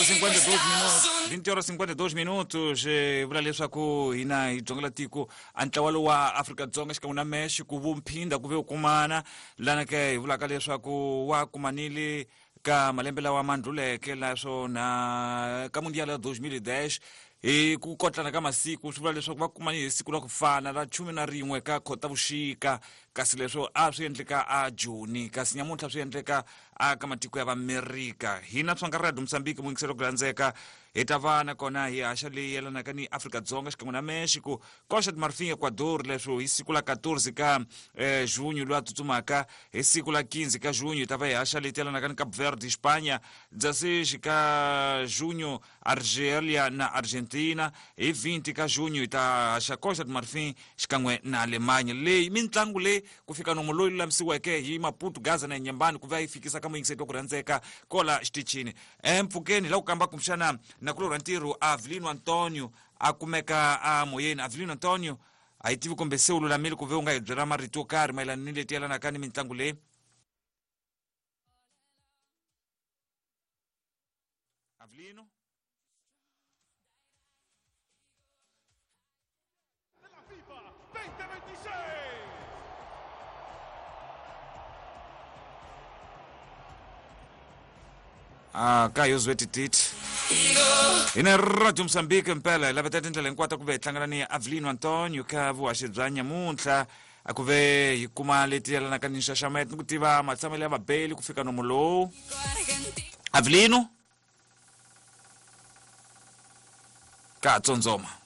52 minutos 20 horas 52 minutos vula leswaku hina hi dzongela tiko a ntlawa lowu wa Afrika-Dzonga xikan'we na Mexico vumphinda ku ve u kumana lana ke hi vulaka leswaku wa kumanile ka malembe lawa ma ndluleke naswona ka mundial ya 2010 hi ku kotlana ka masiku swi vula leswaku va kumani hi siku ra ku fana ra 11 ka Khotavuxika kasi leswo a swi endleka a Joni kasi nyamuntlha swi endleka a ka matiko ya Vamerika hina tsonga Radio Mozambique muyingiselo ku landzeka hi ta va nakona hi haxa leyi yelanaka ni Afrika-Dzonga xikan'we na Mexico Costa de Marfin Ecuador leswo hi siku la 14 ka junho loyi a tsutsumaka hi siku la 15 ka junho hi ta va hi haxa leyi yelanaka ni Cape Verde Espanha 16 ka junho Argelia na Argentina hi 20 ka junho hi ta haxa Costa de Marfin xikan'we na Alemanha leyi mintlangu leyi ku fika nomo loyi lulamisiweke hi Maputo Gaza na Nyembani ku va yi fikisa ka muyingiseti wa ku rhandzeka kola xitichini empfhukeni la ku kamba kumbexana nakulorhi wa ntirho Avelino Antonio a kumeka a moyeni Avelino Antonio a yi tivi kumbe se u lulamile ku ve u nga hi byela marito yo karhi mayelana ni leti yelanaka ni mitlangu leyi Avelino FIFA 2026. Ah, ka yo zwetititi hina Radio Mozambique mpela hi laveta tindlela hinkwato ku ve hi hlangana ni Avelino Antonio ka vuhaxi bya nyamuntlha a ku ve hi kuma leti yelanaka ni nxaxameto ni ku tiva matshamelo ya vabeli ku fika nomo lowu Avelino ka tsotsoma.